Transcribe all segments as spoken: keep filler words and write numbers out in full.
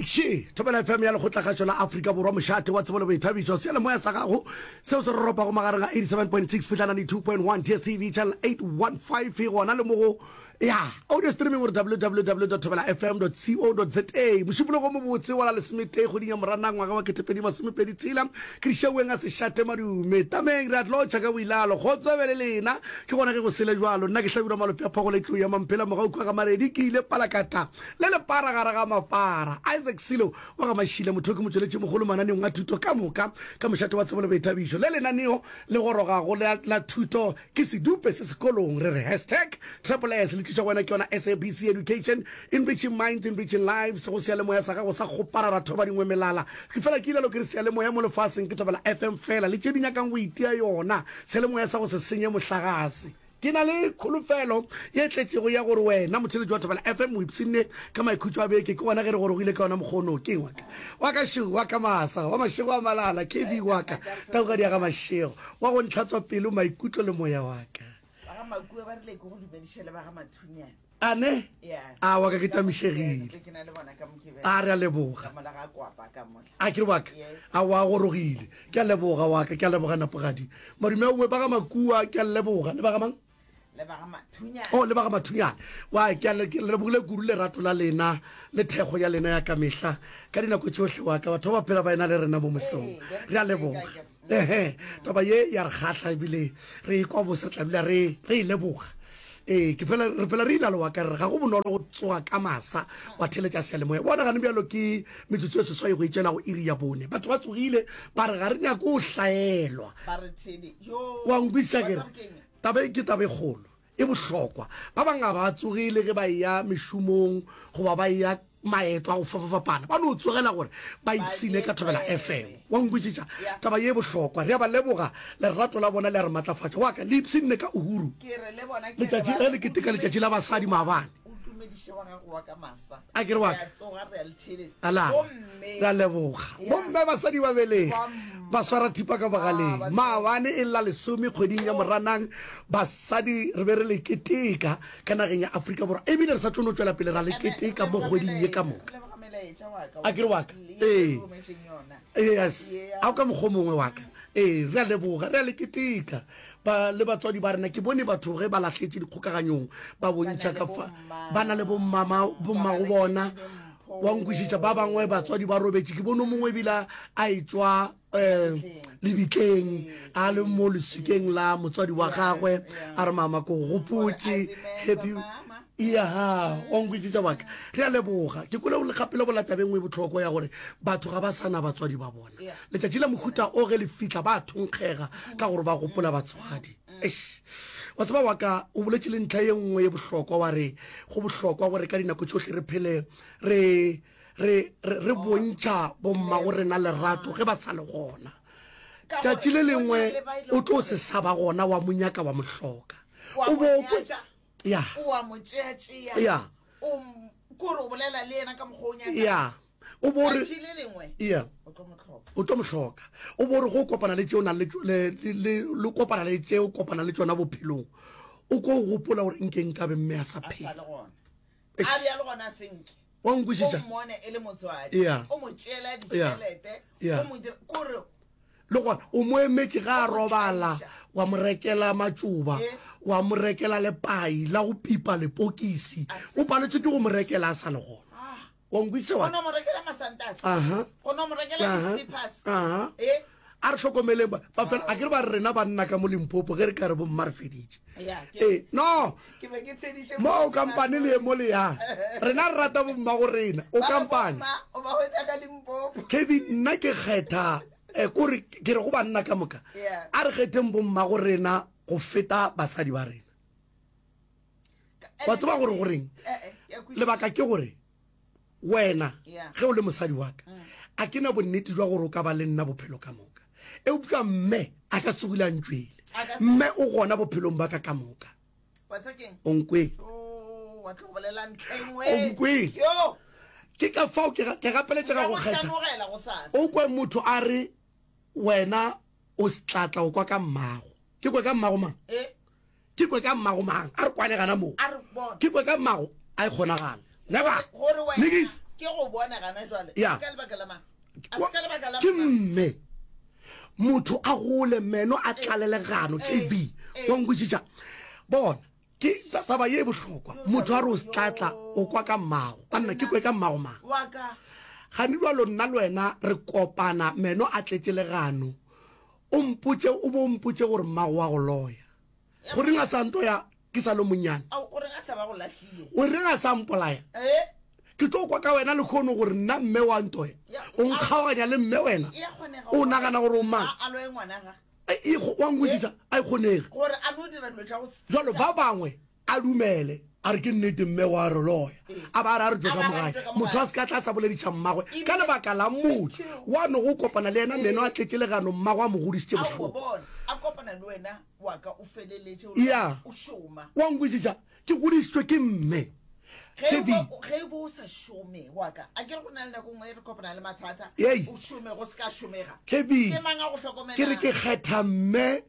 Še, Thobela F M ya Lekgotlakgašo la Afrika Borwa, mošate wa tsebo le boithabišo, seyalemoya sa gago seo se roropago magareng ga eighty-seven point six fihla ninety-two point one, D S T V channel eight one five, gona le mo go ya audio streaming gore W W W dot thobela F M dot co dot za. Mošupologo mobotse wa la lesometee kgweding ya Moranang ngwaga wa ketepedi masomepedi tshela, ke dišaueng a sešate madume tameng re a tlotšha ka boilalo kgotso be le lena. Ke gona ge go sele jalo, nna ke Hlabirwa Malope a Phagola tlou ya Mamphela mogaukhwa ga Maredi, ke ile palakata le lepara gare ga mapara. Isaac Silo wa ga Mašile motho ke motšweletši mogolo mananeong a thuto ka moka ka mošate wa tsebo le boithabišo. Le lenaneo le gorogago la, la thuto ke sedupe se sekolong, re re hashtag triple S le tliša go wena ke yona S A B C Education, enriching minds, enriching lives. Go seyalemoya sa gago sa kgoparara thoba dingwe melala, ke fela ke ilalo ke re seyalemoya mo lefaseng ke Thobela F M fela, le tše di nyakang go itia yona seyalemoya sa go se senye mohlagase. Ke na le kholofelo ye tletšego ya gore wena motheletši wa Thobela F M o ipshinne ka maikhutšo a beke. Ke gona ge re gorogile ka yona mokgono. Ke waka wa ka šego wa ka masa wa mašego a malala K B wa ka taugadi ya ga mašego wa go ntlhatswa pelo, maikutlo le moya wa ka. Ba ga Makua ba rile ke go dumediše le ba ga Mathunyane. Ane? Ya. A wa ka ke tamišegile. Ke na le bona ka Mokibelo. A re a leboga. Ka mola ga kwapa ka mola. A ke re waka? Yes. A wa gorogile, ke a leboga wa ka, ke a leboga napogadi madume aowe ba ga Makua, ke a leboga le ba ga mang? Le ba ga Mathunyane. O le ba ga Mathunyane wa ke a le- ke lebogile kudu lerato la lena le thekgo ya lena ya ka mehla ka dinako tšohle. Wa ka batho ba ba phela ba ena le rena mo mosong. Ee, re a leboga. Ehe, taba ye ya re kgahla ebile re ekwa bose, re tla dula re re e leboga. Ee, ke phela re phela re ilalo wa ka re ga go bonolo go tsoga ka masa wa theletša seyalemoya. Bona gane bjalo ke metsotso e seswai go itšela go iri ya bone, batho ba tsogile ba re ga re nyake go hlaelwa. Ba re tshedi jo. Wa nkwešiša? Wa ke re tseba keng? Taba e ke taba e kgolo e bohlokwa. Ba bangwe ga ba tsogile ge ba eya mešomong goba ba eya maeto a go fapafapana, ba no tsogela gore ba ipsine ka Thobela F M. Wa nkwešiša? Yeah. Taba ye bohlokwa, re a ba leboga, lerato la bona le a re matlafatša. Wa ka le ipshinne ka Uhuru Ke re le bona ke re letšatši ba ge re le keteka letšatši la basadi maabane. O tumediše wa gago wa ka masa. A ke re wa Re ka a tsoga, re a le theeletša. Ala. Gomme re a leboga. Yeah. Bomme basadi ba belegi Ba- ba swara thipa ka bogaleng. Ah, ba Maabane e lla lesome kgweding ya Moranang, basadi re be re le keteka ka nageng ya Afrika Borwa, ebile re sa tlo no tšwela pele ra le keteka mo kgweding ye ka moka. Re leboga melaetša wa ka. A ke re wa ka? Ye Ee. re rometšeng yona. Yes. Yeah. A o ka mokgwa o mongwe wa ka. Ee, re a leboga, re a le keteka ba le batswadi ba rena. Ke bone batho ge ba lahletše dikgokaganyong ba bontšha le ka fa bomma. Ba na le bommama, bommago Ba bona. reketše dimpho. Wa nkwešiša? Ba bangwe batswadi ba robetše. Ke bone o mongwe ebile a etšwa um lebitleng a le mo leswikeng la motswadi wa gagwe, a re, "Mama, ko gopotše, happy." Ya, wa nkwešiša waka? Re a leboga. Ke kwele le gape le bola tabeng e bohlokwa ya gore batho ga ba sa na batswadi ba bona. Yeah. Letšatši la mohuta o ge le fitlha ba thonkgega ka gore ba gopola batswadi. Eish. Wa tseba wa ka, o boletše le ntlha ye nngwe ye bohlokwa, wa re go bohlokwa gore ka dinako tšohle re phele re re re re bontšha bommago rena lerato ge ba sa le gona. Ka tšatši gore le go na lengwe le ba e leng o tlo gore se sa ba gona, wa monyaka wa mohloka. Wa O mo bo kwe nyatša, ya. O wa mo tšea-tšea. Ya. O m- kore o bolela le yena ka mokgwa o nyakang. Ya, o bo re Tšatši le lengwe ya o tlo mo hloka. O tlo mo hloka. O bo re go kopana le tšeo nang le tšo- le le- le le kopana le tšeo kopana le tšona bophelong, o ko gopola gore nke nkabe mme a sa A sa phela. le gona. Eish. A bjale gona senke. Wa O nkwešiša? mmone e le motswadi. Yeah. O mo tšeela ditšhelete. Yeah. O mo dira kore Le gona o mo emetše ga a O mo robala, tlaiša. wa mo rekela matšoba, Eh. wa mo rekela lepai la go pipa lepokisi. A se- O paletswe ke go mo rekela a sa le gona. Ah. Wa nkwešiša wa O no mo rekela masantase. Aha. O no mo rekela Aha. di-slippers. Aha. Eh? A re hlokomeleng ba ba fela a ke re ba re rena banna ka mo Limpopo ge re ka re bomma re feditše. Ya, ke- Ee, no. Ke be ke tshediše mo o motho kampane le ye mo le ya rena re rata bomma go rena o Ba re kampane. bomma, o ba hwetša ka Limpopo. Kevin, nna ke kgetha eh, kore ke re go banna ka moka, Yeah. a re kgetheng bomma go rena go feta basadi ba rena. Wa tseba gore goreng? Eh, eh, ke a kwešiša. Lebaka ke gore wena Yeah. ge o le mosadi wa ka, a ke na bonnete jwa gore o ka ba le nna bophelo ka moka, eupša mme a ka tsogile a ntšwele. A ka se- Mme o gona bophelong ba ka ka moka. Wa tseba keng? O nkwele? Oh, wa tlo go bolela ntlha e nngwe. O nkwele? Yo, Ke ka fao ke ga- ke gapeletšega go nka mo kgetha. hlanogela gosasa. O kwe motho a re wena o setlatla, o kwa ka mmago. Ke kwe ka mmago mang? Eh, Ke kwe ka mmago mang? A re kwane gana moo. A re bona. Ke kwe ka mmago, a e kgonagala never. Gore wena Nikis. ke Ke go bona gana jwale. Ya. Ke ka lebaka la mang? A se ka lebaka la Ke mang? mme. Motho a gole meno a tlalelegano Eh, K B. eh. Wa nkwešiša? Bona, ke taba ye e bohlokwa. Motho a re o setlatla o kwa ka mmago. Banna ke kwe ka mmago mang? Wa ka. Gane jwalo nna le wena re kopana meno a tletše legano. O mpotše, o bo mpotše gore mmago wa go loya. Goreng a sa ntoya ke sa le monnyane? Ao, o reng a sa ba go lahlile? O reng a sa mpolaya? Eh? Ke tlo kwa ka wena lekgono gore nna mme wa ntoya. Ya, O nkgaoganya le mme wena. E a kgonega O nagana gore o mang? A, a loye ngwana ga. E, e, wa nkwešiša? A e kgonege. Gore a no dira dilo tša go se- Jwalo ba bangwe a dumele a re ke nnete mme wa re loya. A ba a re a re tšwe ka A ba a re mogae. tšwe ka mogae. Motho a se ka tla sa bolediša mmagwe Ebile- ka lebaka la motho wa no go kopana le yena meno a tletše legano mmagwe a mo godišitše A o bohloko. bona, a kopana le wena wa ka o feleletše o Ya. o šoma. Wa nkwešiša? Ke godišitšwe ke mme. Ge Kevin. bo, ge bo o sa šome wa ka, a ke re go na le nako nngwe e re kopana le mathata, Ei. o šome go se ka šomega. Kevin. Ke mang a go hlokomelang? Ke re ke kgetha mme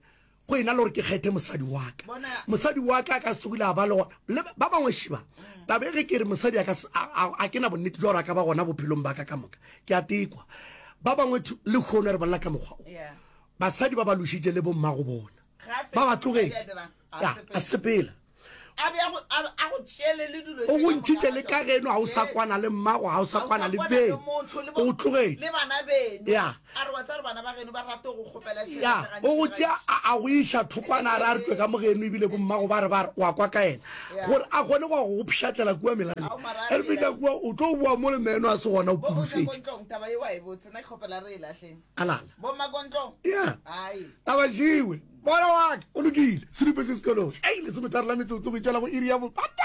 go ena le gore ke kgethe mosadi wa ka. Bona. Mosadi wa ka a ka se tsogile a ba le gona. Le ba bangwe šiba. Taba e ge ke re mosadi a ka se, a, a, a ke na bonnete jwa gore a ka ba gona bophelong ba ka ka moka. Ke a tekwa. Ba bangwe thu, le kgono re bolela ka mokgwa o. Yeah. Basadi ba ba lošitše le bommago bona. Ga a Ba ba fetše mosadi a tlogetše. dirang, a Ya, sepela. a sepela. A be a go, a, a go tšeele le dilo O tše go ka moka ntšhitše ga le tšona. ka geno, ha o sa Yes. kwana le mmago, ha o sa Ha o kwana sa le kwana beno. le motho, le bo- O tlogetše. le bana beno. Ya. A re wa tseba gore bana ba geno ba rate go kgopela tšhelete Ya, gantši o go gantši. tšea a, a go iša thokwana, a re a re tšwe ka mo geno, ebile bo mmago ba re ba re, wa kwa ka yena. Ya. Gore a kgone go ya go go pšhatlela kua melaleng. Ao, mara a Ge re fihla lela. kua, o tlo boa mo le meno a se gona, o Bo o tla pudufetše. ko ntlong, taba ye wa e botse, nna ke kgopela re e lahleng. A lala. Bo mma ko ntlong? Ya. Ai. Taba jewe. Bona wa ka, o lokile. Sedupe se sekolong. Ei, lesometharo la metsotso go itšwela go iri ya bopata.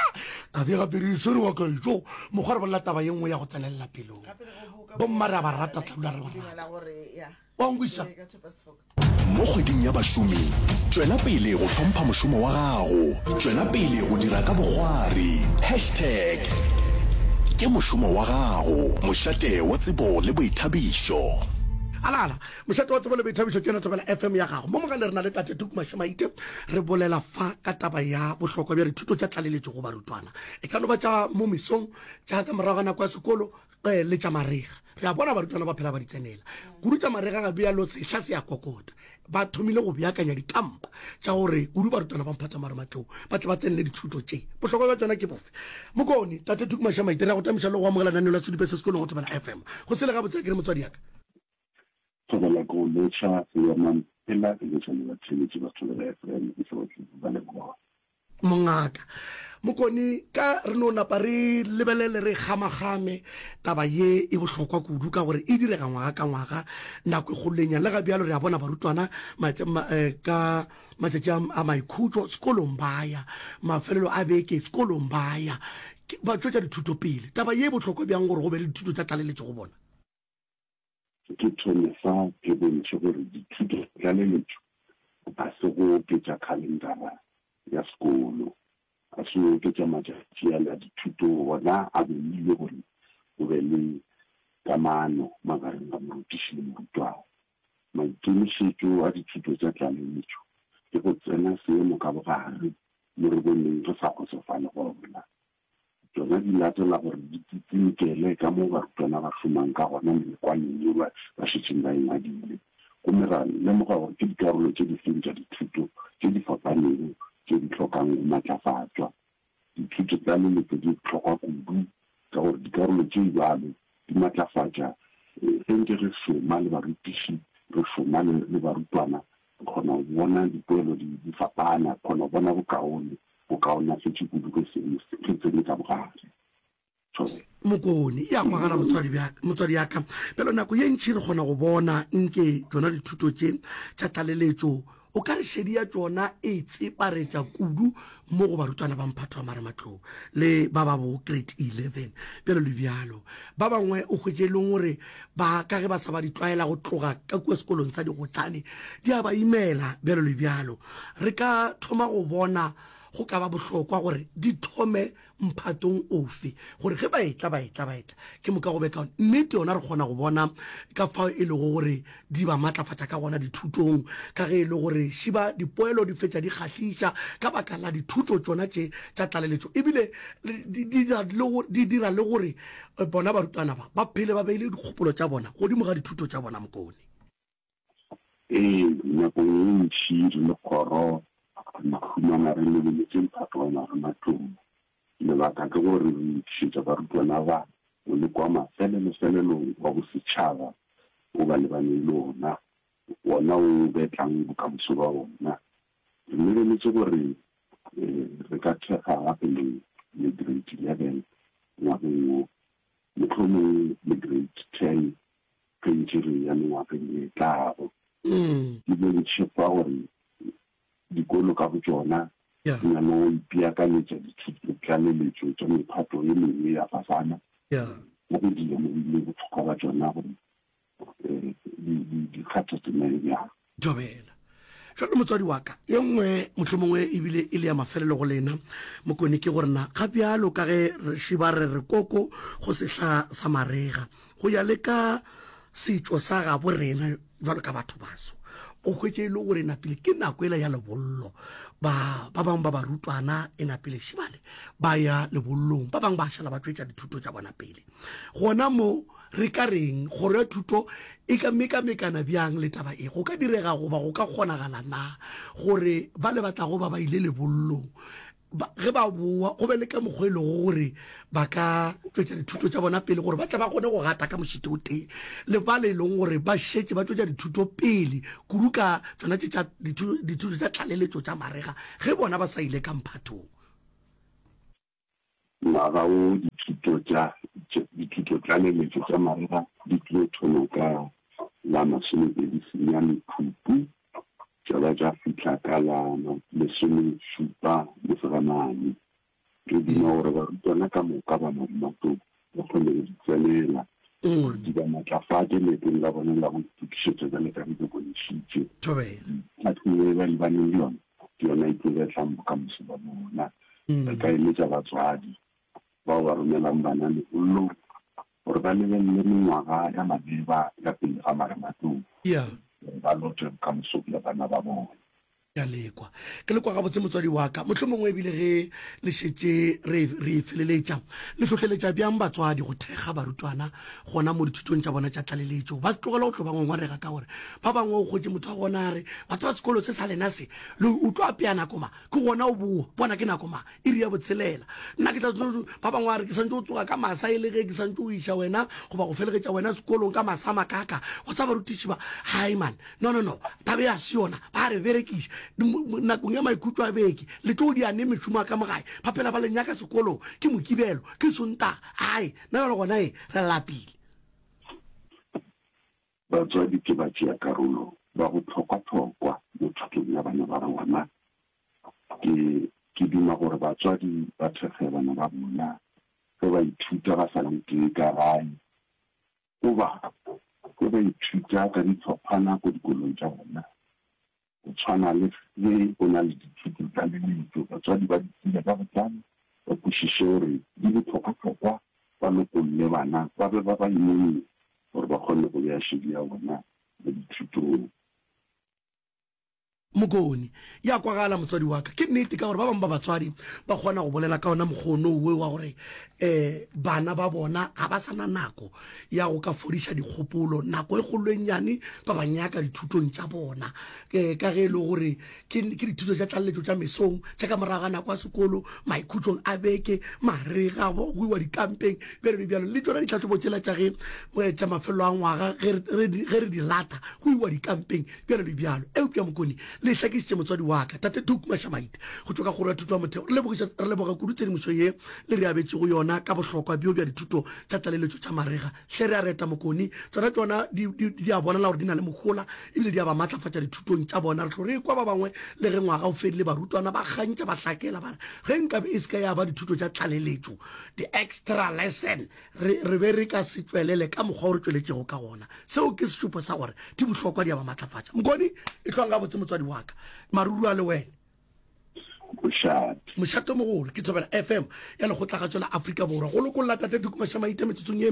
Taba e gape re e swere wa ka etšo. Mokgwa re bolela taba ye nngwe ya go tsenelela pelong. Gape re go boka Bomma re a ba rata, tla dula re ba rata. Dumela gore, ya. Wa nkwešiša? Ke ka tshepa sefoka. Mo kgweding ya bašomi, tšwela pele go hlompha mošomo wa gago. Tšwela pele go dira ka bokgwari. Hashtag ke mošomo wa gago. Mošate wa tsebo le boithabišo. Alala, mošate wa tsebo le boithabišo ke yona Thobela F M ya gago. Mo mogale re na le Tate Tuku Mashamaite, re bolela fa ka taba ya bohlokwa bja dithuto tša tlaleletšo go barutwana. E ka no ba tša mo mesong, tša ka morago ga nako ya sekolo, eh, le tša marega. Re a bona barutwana ba phela ba di tsenela. Kudu tša marega ga bjalo sehla se a kokota. Ba thomile go beakanya dikampa tša gore kudu barutwana ba Mphato Marematlou ba tle ba tsenele dithuto tše. Bohlokwa bja tšona ke bofe? Mokone, Tate Tuku Mashamaite, re a go tamiša le go amogela lenaneo la Sedupe se sekolong go Thobela F M. Go sele gabotse a ke re motswadi ya ka. Thobela ko lotšha, se ya mampela, ke lotšha le batheeletši ba Thobela F M, ke hlotle ba leboga. Mongaka Mokone, ka re no napa re lebelele re gamagame taba ye e bohlokwa kudu ka gore e direga ngwaga ka ngwaga nako e kgolo le ga bjalo re a bona barutwana matša-, ma-, eh, ka matšatši a, a maikhutšo sekolong ba ya, mafelelo a beke sekolong ba ya, ke, ba tšwetša dithuto pele. Taba ye e bohlokwa bjang gore go be le dithuto tša tlaleletšo go bona? Ke thome fa ke bontšhe gore dithuto tša tlaleletšo ga se go oketša khalendara ya sekolo, ga se go oketša matšatši a la dithuto, gona a beilwe gore go be le kamano magareng ga morutiši le morutwana. Maikemišetšo a dithuto tša tlaleletšo ke go tsena seemo ka bogare mo re boneng re sa kgotsofale gona. Tšona di latela gore di tsitsinkele ka mo barutwana ba šomang ka gona melekwaneng yeo ba, ba šetšeng ba e ngwadile. Gomme ra lemoga gore ke dikarolo tše di feng tša dithuto tše di fapanego tše di hlokang go matlafatšwa. Dithuto tša tlaleletšo di bohlokwa kudu ka gore dikarolo tše bjalo di matlafatša, eh, ge ntse re šoma le barutiši, re šoma le, le barutwana, re kgona go bona dipoelo di, di fapana, re kgona go bona bokaone, bokaonafetše kudu ge seemo se, ge tsene ka bogare. Thobela. Mokone, ya kwagala motswadi bja, motswadi ya ka. Bjalo nako ye ntši re kgona go bona nke tšona dithuto tše tša tlaleletšo, o ka re šedi ya tšona e tseparetša kudu mo go barutwana ba mphato wa marematlou le ba ba bo grade eleven. Bjalo le bjalo. Ba bangwe o hwetše e leng gore ba ka ge ba sa ba di tlwaela go tloga ka kua sekolong sa digotlane, di a ba imela bjalo le bjalo. Re ka thoma go bona go ka ba bohlokwa gore di thome mphatong ofe, gore ge ba etla, ba etla, ba etla, ke moka go be kaone. Nnete yona re kgona go bona ka fao e lego gore di ba matlafatša ka gona dithutong, ka ge e le gore šiba dipoelo di fetša di kgahliša ka baka la dithuto tšona tše tša tlaleletšo, ebile di dira le go, di dira le gore bona barutwana ba ba phele ba beile dikgopolo tša bona godimo ga dithuto tša bona. Mokone. Ee, nakong ye ntši re le kgoro re ikhumana re lebeletše mphato wa marematlou. Lebaka ke gore re lokišetša barutwana ba moleko wa mafelelo-felelo wa bosetšhaba wo ba lebaneng le wona, wona wo o betlang bokamoso bja bona. Re lebeletše gore re ka thekga gape le le Grade eleven ngwageng wo, mohlomongwe le Grade ten ge ntše re eya mengwageng e tlago. Ke bontšhe fa gore dikolo ka botšona di na le go ipeakanyetša dithutotlaleletšo tša mephato e mengwe ya fasana mo go di lemogile bohlokwa bja tšona gore di kgatha tema e bjang. Thobela. Jwale motswadi wa ka, ye nngwe mohlomongwe ebile e le ya mafelelo go lena, Mokone, ke gore na ga bjalo ka ge re šiba re re koko go sehla sa marega, go ya le ka setšo sa gabo rena bjalo ka batho baso, o hwetše e le gore napile ke nako ela ya lebollo, ba ba bangwe ba barutwana e napile šibale ba ya lebollong, ba bangwe ba šala ba tšwetša dithuto tša bona pele. Gona mo re ka reng? Kgoro ya thuto e ka mekamekana bjang le taba e? Go ka direga goba go ka kgonagala na gore ba le ba tlago ba ba ile lebollong ba, ge ba boa go be le ka mokgwa e lego gore ba ka tšwetša dithuto tša bona pele gore ba tle ba kgone go gata ka mošito o tee le ba le e leng gore ba šetše ba tšwetša dithuto pele kudu ka tšona tše tša dithuto tša tlaleletšo tša marega ge bona ba sa ile ka mphathong? Ngwaga wo dithuto tša dithutotlaleletšo tša marega di tlo thoma ka la masomepedi senyane Phupu tša ba tša fihla ka la lesomešupa Mosegamane. Re duma gore barutwana ka moka ba Marematlou ba kgone go di tsenela gore di ba matlafatše leetong la bona la go itokišetša bjalo ka ge ke bontšhitše. Tlhahlobo e ba lebaneng le yona ke yona e tlo betlang bokamoso ba bona. Re ka eletša batswadi bao ba romelang bana lebollong gore ba lebelele mengwaga ya maleba ya pele ga marematlou gore ba lote bokamoso bja bana ba bona. Ke a lekwa. Ke lekwa gabotse motswadi wa ka. Mohlomongwe ebile ge le šetše re, re e feleletša, le hlohleletša bjang batswadi go thekga barutwana gona mo dithutong tša bona tša tlaleletšo? Ba tlogele go tlo ba ngongorega ka gore ba bangwe o hwetše motho wa gona a re, Wa tseba sekolo se sa lena se, le o tlo apea nako mang? Ke gona o boa, bona ke nako mang? Iri ya botshelela. Nna ke tla, ba bangwe ba re ke santše o tsoga ka masa e le ge ke santše o iša wena goba go felegetša wena sekolong ka masa a makaka. Wa tseba barutiši ba, hai man, no, no, no, taba e a se yona, ba re berekiša. Nakong ya maikhutšo a beke, le tlo dia neng mešomo ya ka mo gae? Ba phela ba le nyaka sekolong, ke Mokibelo, ke Sontaga, hai, nna bjale gona e, re lapile. Batswadi ke batšeakarolo ba bohlokwahlokwa mo thutong ya bana ba bona. Ke, ke duma gore batswadi ba thekge bana ba bona ge ba ithuta ba sa le tee ka gae goba ge ba ithuta ka dihlophana ko dikolong tša bona. Go tshwana le ge go na le dithuto tša leletšo, batswadi ba di tsebe ka botlalo, ba kwešiše gore di bohlokwahlokwa, ba lokolle bana ba be ba ba imolle gore ba kgone go bea šedi ya bona mo dithutong. Mokone, Ya kwagala motswadi wa ka. Ke nnete ka gore ba bangwe ba batswadi ba kgona go bolela ka ona mokgwa onowe wa gore um bana ba bona ga ba sa na nako ya go ka fodiša dikgopolo, nako e kgolo e nnyane ba ba nyaka dithutong tša bona um ka ge e le gore ke ke dithuto tša tlaleletšo tša mesong, tša ka morago ga nako ya sekolo, maikhutšong a beke, marega, go iwa dikampeng, bjalo le bjalo. Le tšona ditlhahlobo tšela tša ge tša mafelelo a ngwaga ge re di lata go iwa dikampeng, bjalo le bjalo. Eupša Mokone, le hlakišitše motswadi wa ka, Tate Tuku Mashamaite, go tšwa ka Kgoro ya Thuto ya Motheo. Re lebogiša, re leboga kudu tshedimošo ye le re abetšego yona ka bohlokwa bjo bja dithuto tša tlaleletšo tša marega. Hle re a reta, Mokone. Tšona, tšona di, di, di a bonala gore di na le mohola ebile di a ba matlafatša dithutong tša bona. Re tlo re ekwa ba bangwe le ge ngwaga o fedile, barutwana ba kgantša ba hlakela ba re, Ge nkabe e se ka ya ba dithuto tša tlaleletšo, di-extra lesson, Re, re be re ka se tšwelele ka mokgwa o re tšweletšego ka gona. Seo ke sešupo sa gore di bohlokwa, di a ba matlafatša. Mokone, ehlwang gabotse motswadi wa ka. Maruru a le wena. Mošate. Mošate o mogolo ke Thobela F M ya Lekgotlagatšo la Afrika Borwa. Go lokolla Tate Tuku Mašamaite metsotsong ye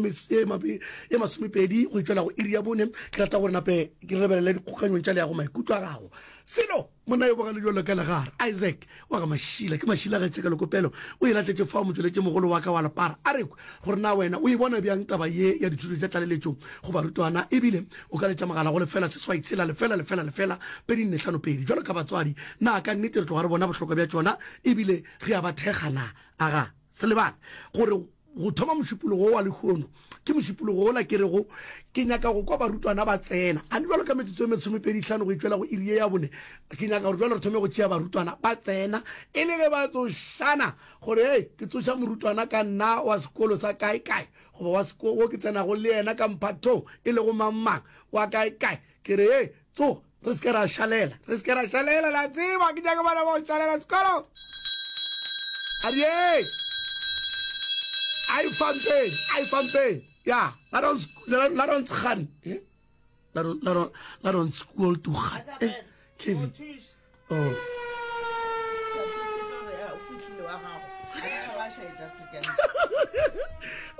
ye masomepedi go itšwela go iri ya bone. Ke rata gore nape ke lebelele dikgokanyong tša leago maikutlo a gago. Selo monna yo bogale bjalo ka legare, Isaac wa ga Mašila, ke Mašila ge tšeka lekopelo o e lahletše fao motšweletši mogolo wa ka wa lepara. A re kwe gore na wena o e bona bjang taba ye ya dithuto tša tlaleletšo go barutwana ebile o ka letša mogala go lefela seswai tshela lefela lefela lefela pedi nne hlano pedi. Bjalo ka batswadi, na ka nnete re tloga re bona bohlokwa bja tšona ebile re a ba thekga na? Aga, se lebale gore go thoma mošupologo wo wa lehono ke mošupologo wola ke rego ke nyaka go kwa barutwana ba tsena. A bjalo ka metsotso e mesomepedi hlano go itšwela go iri ye ya bone, ke nyaka gore bjalo re thome go tšea barutwana ba tsena e le ge ba tsošana gore hei ke tsoša morutwana ka nna wa sekolo sa kae kae goba wa seko wo ke tsenago le yena ka mphathong e lego mang mang wa kae kae ke re hei tsoga re se ke ra šalela re se ke ra šalela la tseba ke nyaka bana ba go šalela sekolo a re hei a e fampeng a e fampeng ya la ons la ons gaan eh la la la ons skool toe gaan eh Kevin oh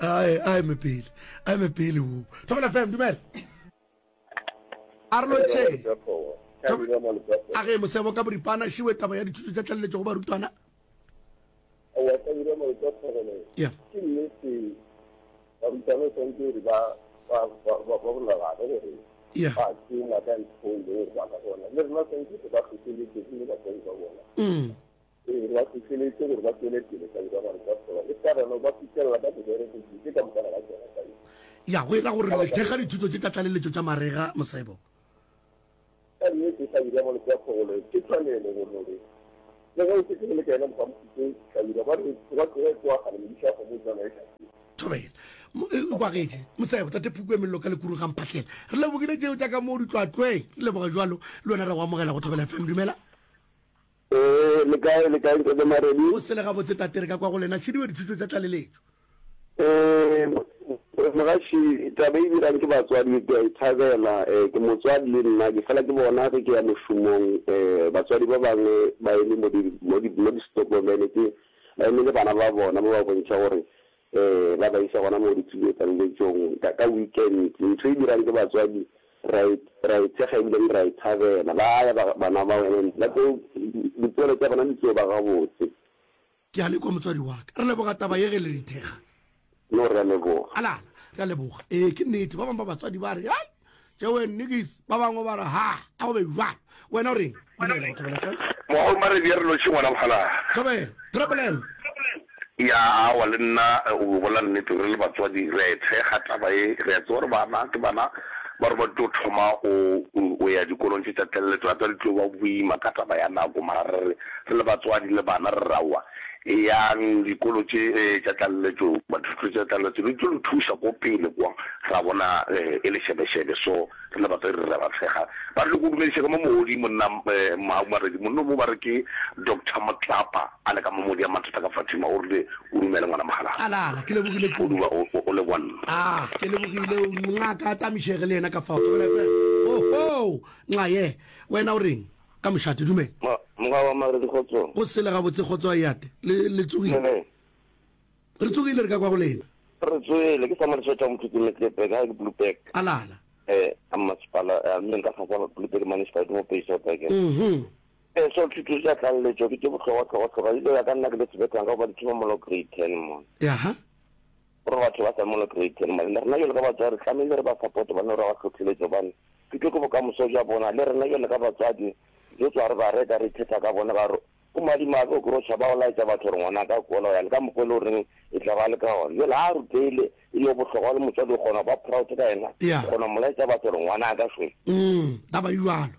ai ai me pele ai me pele wo Thobela F M dumela a re lotšhe a ge mosebo ka boripana šiwe taba ya dithuto tša tlaleletšo go barutwana Aowa, Hlabirwa Malope a Thobela, Yeah. ke nnete barutwana o swanetše gore ba ba ba ba ba bolelane gore Yeah. ba tšena ka ntho e leng gore ba ka bona. Le rena swanetše re ba hlohleletše gomme batswadi ba bona. Mm. Ee, re ba hlohleletše gore ba tšwele pele Hlabirwa Malope a Thobela. E sa rena ba fihlelela ka mebereko dilo tše ka mokana ga tšona Hlabirwa. Ya, go e ra gore le thekga dithuto tše tša tlaleletšo tša marega, Mosebo. Ka nnete Hlabirwa Malope a Thobela, ke tshwanelo gore gore le ge o šetše go le ka yena mogamositse Hlabirwa ba re tsoga tsoga e tsoga kgale modiša wa kgomo o tsena e hlakile. Thobela. Mo- e, o kwagetše Mosebo, tate Phuku e mello ka lekurung ga Mphahlele. Re lebogile tšeo tša ka moo ditlwatlweng. Re leboga jwalo le wena re go amogela go Thobela F M. Dumela. Ee, le kae, le kae ntate Maredi? Go sele gabotse tate, re ka kwa go lena. Šidiwe dithuto tša tlaleletšo. Ee, mogaši, taba e dirang ke batswadi ke a e thabela. Ee, ke motswadi le nna, ke fela ke bona ge ke ya mošomong, ee, batswadi ba bangwe ba eme mo di, mo di, mo di-stopomene tše, ba eme le bana ba bona, ba ba bontšha gore, ee, ba ba isa gona mo dithuto-tlaleletšong ka, ka weekend. Ntho e dirang ke batswadi re a e, re a e thekga ebile re a e thabela. Ba ya ba, bana bao and ba tlo, dipoelo tša bona di tlo ba gabotse. Ke a le kwa motswadi wa ka. Re leboga taba ye ge le di thekga. No, re a leboga. Alala, re a leboga. Ee, ke nnete. Ba bangwe ba batswadi ba re, hai, tšewe nnikis. Ba bangwe ba re, ha, a go be jwalo. Wena o reng? Dumela, go Thobela F M. Mogau Maredi, re lotšhe ngwana Mokgalabje. Thobela, Triple M. Ya, aowa, le nna o bolela nnete, re le batswadi re a e thekga taba ye. Re a tseba gore bana ke bana ba re ba tlo thoma go go ya dikolong tše tša tlaleletšo, gape re tlo ba boima ka taba ya nako, mara re re re le batswadi le bana re re aowa, eyang dikolo tše tša tlaleletšo, dithuto tša tlaleletšo di tlo le thuša ko pele kwa, ra bona e le šebešebe. So re le batswadi re re ba thekga. Ba re le go dumediša ka mo mogodi monna Mhau Maredi, monna o mo ba re ke Doctor Motlapa a le ka mo modi ya mathata ka Fatima, o rile o dumele ngwana Mokgalabje. Alala, ke lebogile O kudu. dula o, o, o le bonna. Ah, ke lebogile ngaka a tamišege le yena ka fao. Thobela F M. Oho, nxa ye. Wena o reng ka mošate? Dumela. Ma, moga wa Maredi kgotsong. Go sele gabotse kgotso a eate. Le, le tsogile? Dumela. Re tsogile re ka kwa go lena. Re tsogile, ke Samuel Swetha Mothuti Metlepe, ka ke Blouberg. Alala. Eh, a masepala, a mme nka kgasa Blouberg municipality mo Peisoberg. Mhm. Eh, so thuto tša tlaleletšo ke tše bohlokwa hlokwa hlokwa. Ebile ya ka nna ke le sebethang ka goba di thoma molo grade ten mona. Aha. Gore batho ba sa molo grade ten mona. Rena jwalo ka batswadi re tlamehile re ba support bana re ba hlohleletše gobane thuto ke bokamoso bja bona. Le rena jwalo ka batswadi re tswa re ba reka re ithetha ka bona ka gore o madimabe o kry-o tšhaba o laetša batho gore ngwana ka kola o ya le ka mokgwa e le goreng e tla ba le ka gona. Jwale ha a ruteile e le bohlokwa le motswadi o kgona go ba proud ka yena, Yeah. o kgona go mo laetša batho gore ngwana ka šwe. Mm, taba e jwalo.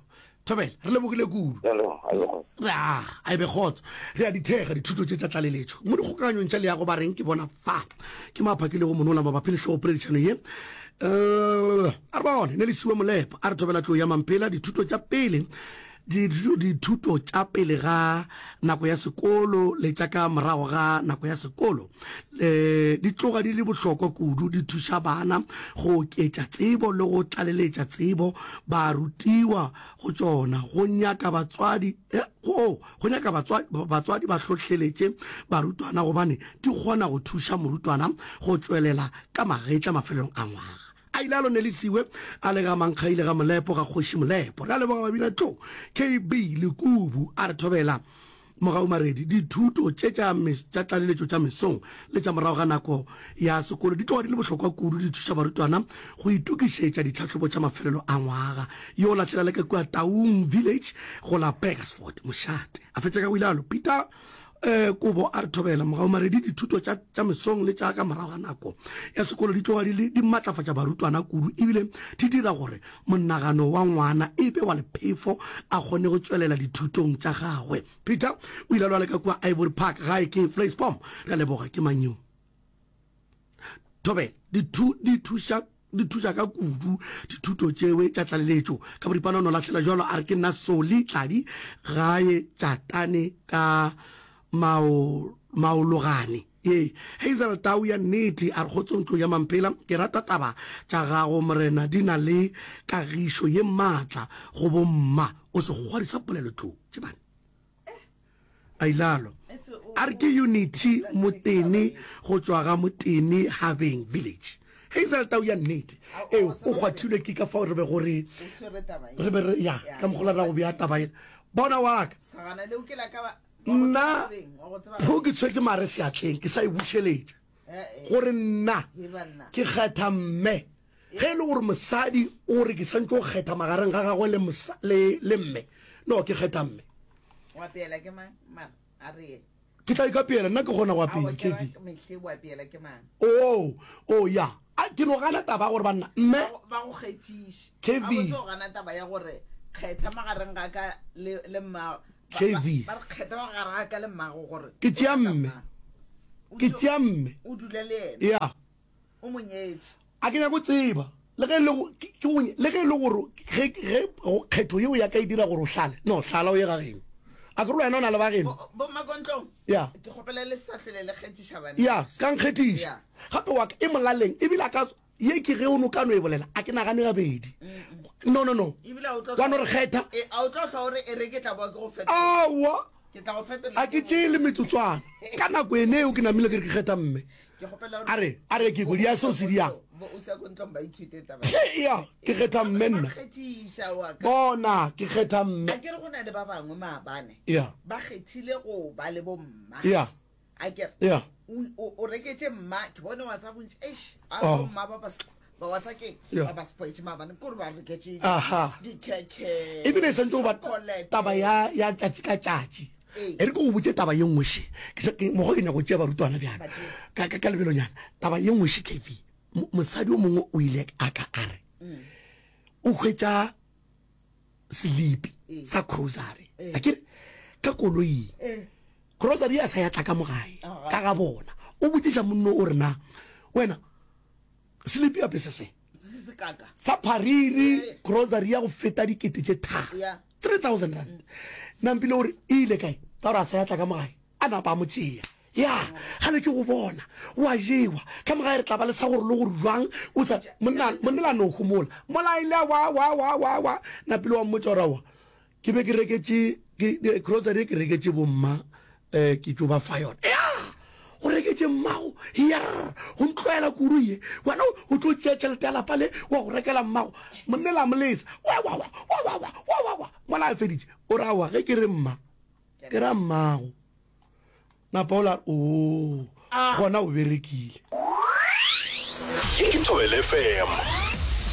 Thobela, re lebogile kudu. Re a leboga, a e be kgotso. Re a, a e be kgotso. Re a di thekga dithuto tše tša tlaleletšo. Mo dikgokaganyong tša leago ba reng ke bona fa. Ke mo a phakilego monola mabapi le hlogopoledišano ye. Uh, a re bone, ne le siwe Molepo. A re Thobela tlou ya Mamphela, dithuto tša pele Dithuto tša pele ga nako ya sekolo le tša ka morago ga nako ya sekolo di tloga di le bohlokwa kudu, di thuša bana go oketša tsebo le go tlaleletša tsebo ba rutiwa go tšona. Go nyaka batswadi go go nyaka batswadi batswadi ba hlohleletše barutwana gobane di kgona go thuša morutwana go tšwelela ka magetla mafelelong a ngwaga. A ile a lonelisiwe a le ga Mankgaile ga Molepo ga Kgoši Molepo. Re a leboga Babina Tlou, K B Lekubu a re thobela Mogau Maredi. Dithuto tše tša tša tlaleletšo tša mesong le tša morago ga nako ya sekolo di tloga di le bohlokwa kudu, di thuša barutwana go itokišetša ditlhahlobo tša mafelelo a ngwaga. Yo lahlela le ka kua Taung Village go la Burgersfort, mošate. A fetša ka go ilalo Peter Eh, Kobo a re thobela Mogau Maredi. Dithuto tša tša mesong le tša ka morago ga nako ya sekolo di tloga di le di matlafatša barutwana kudu ebile di dira gore monagano wa ngwana e be wa lephefo a kgone go tšwelela dithutong tša gagwe. Peter o ile a lwale ka kua Ivory Park gae ke Vleisbom. Re a leboga. Ke mang yo? Thobela, Dithu di thuša di thuša ka kudu dithuto tšewe tša tlaleletšo. Ka boripana o no lahlela bjalo a re ke nna Soli Tladi gae Tšatane ka mao maologane. Ee, Hazel Tau ya nnete a re kgotsong tlou ya Mamphela, ke rata taba tša gago morena di na le kagišo ye maatla go bomma. O sekgwari sa polelo tlou. Tšebane. Ailalo a re ke Unity Motene go tšwa ga Motene Habeng Village. Hazel Tau ya nnete ee o kgwathilwe ke ka fao re bego re re be re ya ka mokgola ra go bea taba ena. Bona wa ka nna pho ke tshwetše mare seatleng ke sa e bušeletša gore nna ke kgetha mme ge e le gore mosadi o re ke santse o kgetha magareng ga gagwe le le mme no ke kgetha mme. O apeela ke mang? Mara, a re ye. Ke tla ikapeela, nna ke kgona go Aowa, apea, ke ra Kathy. mehle o apeela ke mang? Oo, oo, ya. A, ke no gana taba ya gore banna, mme. Ba go, ba go kgethiše. Kathy. Gabotse o gana taba ya gore kgetha magareng ga ka le, le mmago. Ba, ba, Kathy. ba re kgetha magareng ga ka le mmago gore Ke o tšea rata mme. mang. O Ke tšo- tšea mme. O dule le yena. Ya. O mo nyetše. A ke nyako tseba le ge e le go, ke, ke go, le ge e le gore ge, ge go, kgetho yeo ya ka e dira gore o hlale. No, hlala o ye ga geno. A ke re wena o na le ba geno? Bo, bo Mmakontlong, Ya. ke kgopela le sa hlwele le kgethiša banna. Ya, se ka nkgethiša. Ya. Gape wa ka e molaleng, ebile a ka, ye ke ge o no ka no e bolela, a ke nagane gabedi. No, no, no. Ebile a o tlo Wa no hlwa- re kgetha. E, a o tlo hlwa o re, e re ke tla boa ke go fetola. Aowa. Ke tla go fetola. A ke tšee le metsotswana. Ka nako ene eo ke namile ke re ke kgetha mme. Ke kgopela A re, a re ke kwe, di a seo se di yang. Bo o sa kontlong ba ithute taba. Ke ya, ke kgetha mme Ba nna. kgethiša wa ka. Bona, ke kgetha mme. A ke re go na le ba bangwe maabane. Ya. Ba kgethile go ba le bomma. Ya. A ke re. Ya. O, o, o reketše mma, ke bone WhatsApp bontši. Eish, a Oh. bo mma ba ba ba WhatsApp ke Ya. ba ba spoetše maabane ke gore ba reketše Aha. dikhekhe. Ebile e santse go ba chocolate. taba ya ya tšatši ka tšatši. Ee. E re ke go botše taba ye nngwe še. Ke sa- ke- Mokgwa ke nyaka go tšea barutwana bjana. Ka, ka, ka lebelonyana. Taba ye nngwe še, K V. Mo-, mosadi o mongwe o ile a ka a re, o hwetša selipi Ee. sa grocery. Ee. A ke re, ka koloing. Ee. Grocery ya sa ya tla ka mo gae, Aha. ka ga bona. O botšiša monno o re na, wena, selipi ape se se? Se se kaka. Sa phariri, Ee. grocery ya go feta dikete tše tharo. Ya. three thousand rand. Nampile o re, e ile kae? Ka gore a sa ya tla ka mo gae. A napa a mo tšea. Ya, gale ke go bona, o a jewa. Ka mo gae re tla ba le sa gore le gore jwang, o sa, monna, monna la no homola. Mola a ile a wa, wa, wa, wa, wa. Napile wa mmotša gore aowa, ke be ke reketše, ke, ke, grocery e ke reketše bomma, eh, ke tšo ba fa yona. Ya, o reketše mmago, ya, go ntlwaela kudu ye. Wena o, o tlo tšea tšhelete ya lapa le, wa go rekela mmago. Monna la mo lesa, wa, wa, wa, wa, wa, wa, wa, wa, wa. Mola a feditše, o re aowa, ge ke re mma, ke ra mmago. Napa o la re, oo, gona o berekile. Ye ke Thobela F M,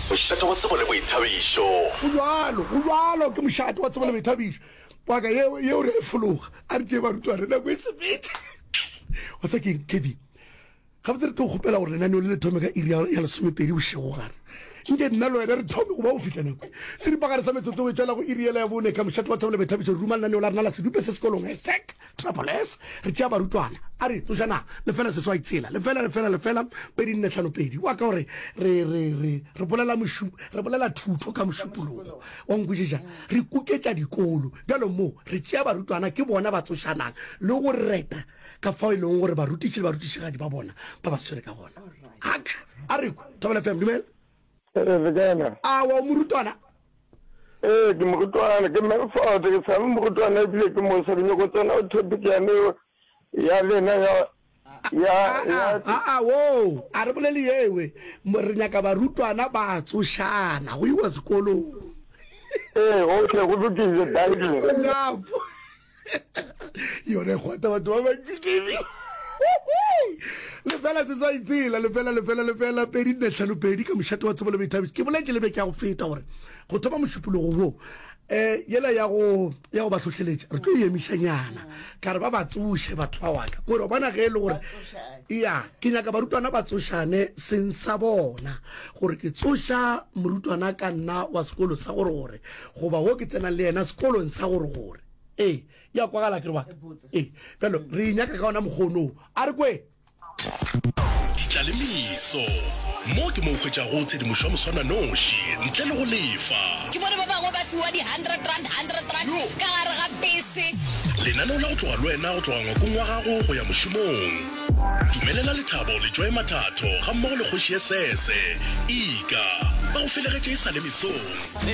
mošate wa tsebo le boithabišo. Go bjalo, go bjalo, ke mošate wa tsebo le boithabišo. Paka yeo, yeo re a e fologa. A re tšee barutwana, nako e sepetše. Wa tseba keng, Kevin? Gabotse re tlo kgopela gore lenaneo le le thome ka iri ya, ya lesomepedi bošegogare. Nke nna le wena re thome go ba go fihla nako e. Seripagare sa metsotso o e tšwela go iri yela ya bone ka mošate wa Thabo le Boithabišo re ruma lenaneo la rena la Sedupe se Sekolong hashtag Triple S re tšea barutwana a re tsošanang lefela seswai tshela lefela lefela lefela pedi nne hlano pedi wa ka gore re re re re bolela mošu re bolela thuto ka mošupologo wa nkwešiša re kuketša dikolo bjalo mo re tšea barutwana ke bona ba tsošanang le go reta ka fao e leng gore barutiši le barutišigadi ba bona ba ba swere ka gona ak a re kwe Thobela F M dumela. Ee, le kae na? Awa, o morutwana? Ee, ke morutwana, ke Melfort, ke sa le morutwana ebile ke mosa, ke nyoko tsena go topic yane ya lena ya ya ya Aa, woo, a re bolele yewe, re nyaka barutwana ba tsošana, go iwa sekolong. Ee, okay, go lokile, dankie. Nyapo. Yona e kgwata batho ba bantši kebe. Lefela seswai tsela lefela lefela lefela pedi nne hlano pedi ka mošate wa tsebo le boithabišo. Ke boletše le beke ya go feta gore go thoma mošupologo wo um yela ya go ya go ba hlohleletša re tlo e emišanyana ka re ba ba tsoše batho ba waka kore o bona ge e le gore ya ke nyaka barutwana ba tsošane seng sa bona gore ke tsoša morutwana ka nna wa sekolo sa gore gore goba wo ke tsenang le yena sekolong sa gore gore Ee, ya kwagala ke re wa. Ee, bjalo re e nyaka ka ona mokgono. A re kwe. Ditlalemiso. Mo ke mo o hwetšago tshedimošo ya moswananoši ntle le go lefa. Ke bone ba bangwe ba fiwa di hundred rand, hundred rand ka gare ga bese. Lenaneo la go tloga le wena go tloga ngwakong wa gago go ya mošomong. Dumelela lethabo le Joy Mathatho gammogo le Kgoši ye Sese, Ika, ba go felegetše e sa le mesong.